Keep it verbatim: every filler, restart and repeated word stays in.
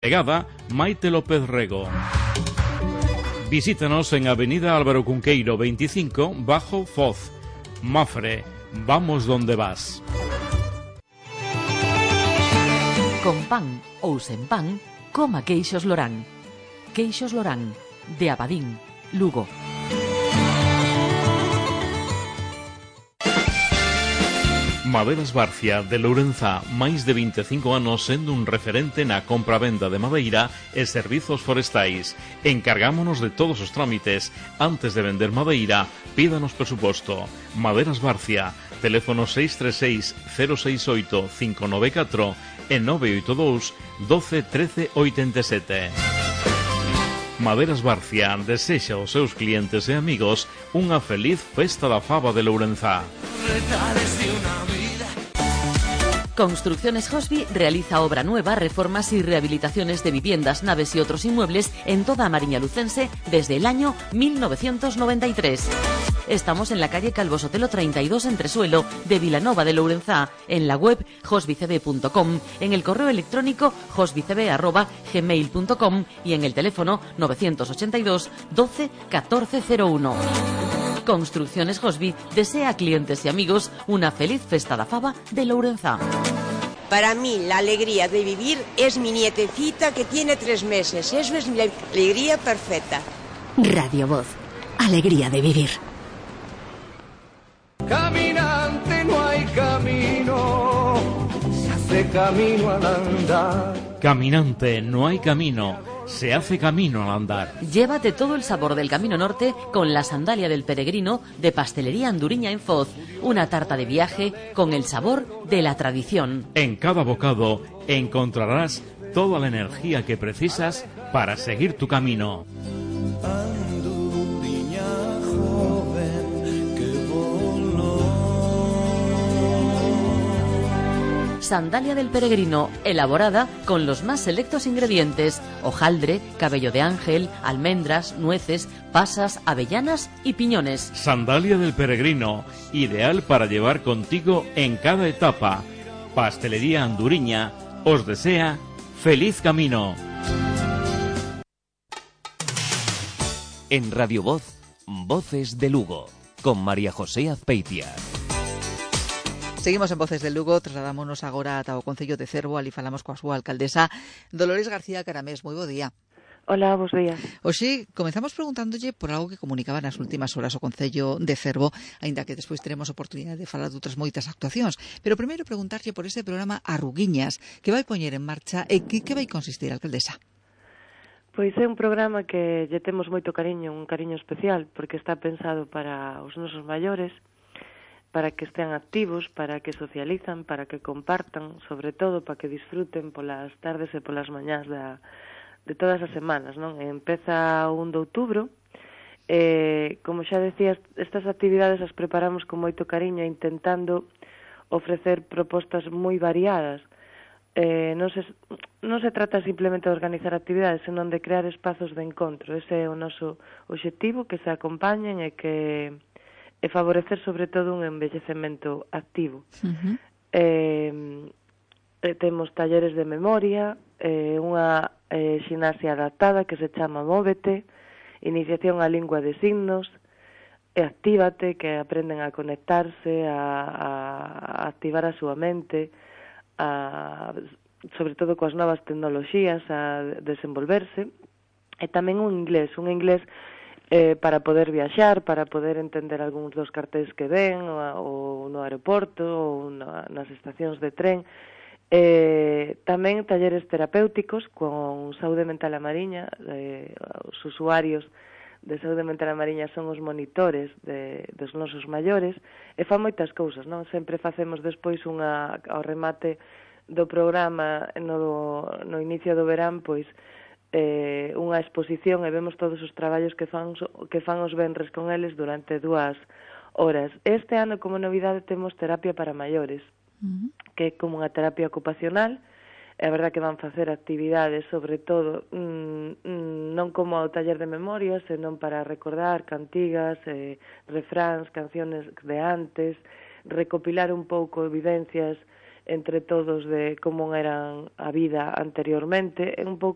Pegada Maite López Rego. Visítanos en Avenida Álvaro Cunqueiro veinticinco, bajo Foz. Mafre, vamos donde vas. Con pan ou sen pan, coma queixos Lorán. Queixos Lorán, de Abadín, Lugo. Maderas Barcia, de Lourenzá, máis de vinte e cinco anos sendo un referente na compra-venda de madeira e servizos forestais. Encargámonos de todos os trámites. Antes de vender madeira, pídanos presuposto. Maderas Barcia, teléfono seis tres seis, cero seis oito, cinco nove catro e nove oito dous, doce, trece, oitenta e sete. Maderas Barcia desexa aos seus clientes e amigos unha feliz festa da faba de Lourenzá. Construcciones Hosby realiza obra nueva, reformas y rehabilitaciones de viviendas, naves y otros inmuebles en toda Mariña Lucense desde el año mil novecientos noventa y tres. Estamos en la calle Calvo Sotelo treinta y dos, Entresuelo, de Vilanova de Lourenzá, en la web hosbycb punto com, en el correo electrónico hosbycb arroba gmail punto com y en el teléfono novecientos ochenta y dos, doce, catorce cero uno. Construcciones Hosby desea a clientes y amigos una feliz festa da faba de Lourenzá. Para mí la alegría de vivir es mi nietecita que tiene tres meses. Eso es mi alegría perfecta. Radio Voz, alegría de vivir. Caminante no hay camino, se hace camino al andar. Caminante no hay camino, se hace camino al andar. Llévate todo el sabor del Camino Norte con la sandalia del peregrino de Pastelería Anduriña en Foz. Una tarta de viaje con el sabor de la tradición. En cada bocado encontrarás toda la energía que precisas para seguir tu camino. Anduriña joven que voló. Sandalia del peregrino, elaborada con los más selectos ingredientes: hojaldre, cabello de ángel, almendras, nueces, pasas, avellanas y piñones. Sandalia del peregrino, ideal para llevar contigo en cada etapa. Pastelería Anduriña os desea feliz camino. En Radio Voz, Voces de Lugo, con María José Azpeitia. Seguimos en Voces de Lugo, trasladámonos agora ata o Concello de Cervo, ali falamos coa súa alcaldesa Dolores García Caramés. Moi bo día. Hola, bos días. Oxe, comenzamos preguntándolle por algo que comunicaba nas últimas horas o Concello de Cervo, aínda que despois teremos oportunidade de falar de outras moitas actuacións. Pero primeiro preguntarlle por ese programa Arruguiñas que vai poñer en marcha e que, que vai consistir, alcaldesa? Pois é un programa que lle temos moito cariño, un cariño especial, porque está pensado para os nosos maiores, para que estean activos, para que socializan, para que compartan, sobre todo para que disfruten polas tardes e polas mañás da, de todas as semanas, non? Empeza o un de outubro, e, como xa decías, estas actividades as preparamos con moito cariño, intentando ofrecer propostas moi variadas. Eh, non, se, non se trata simplemente de organizar actividades, senón de crear espazos de encontro. Ese é o noso obxectivo, que se acompañen e que e favorecer sobre todo un envellecemento activo. Uh-huh. eh, eh, temos talleres de memoria, eh, unha eh, ximnasia adaptada que se chama Móvete, iniciación á lingua de signos, e Actívate, que aprenden a conectarse, a, a activar a súa mente, a, sobre todo coas novas tecnoloxías, a desenvolverse, e tamén un inglés, un inglés Eh, para poder viaxar, para poder entender algúns dos cartéis que ven, ou, ou no aeroporto, ou na, nas estacións de tren. Eh, tamén talleres terapéuticos con Saúde Mental a Mariña. Eh, os usuarios de Saúde Mental a Mariña son os monitores de, dos nosos maiores, e fan moitas cousas, non? Sempre facemos despois unha, ao remate do programa, no, no inicio do verán, pois, Eh, unha exposición e vemos todos os traballos que fan, que fan os venres con eles durante dúas horas. Este ano, como novidade, temos terapia para maiores, uh-huh. que é como unha terapia ocupacional. É verdad que van facer actividades, sobre todo, mmm, mmm, non como o taller de memoria, senón para recordar cantigas, eh, refráns, canciones de antes, recopilar un pouco evidencias entre todos de como era a vida anteriormente, é un pouco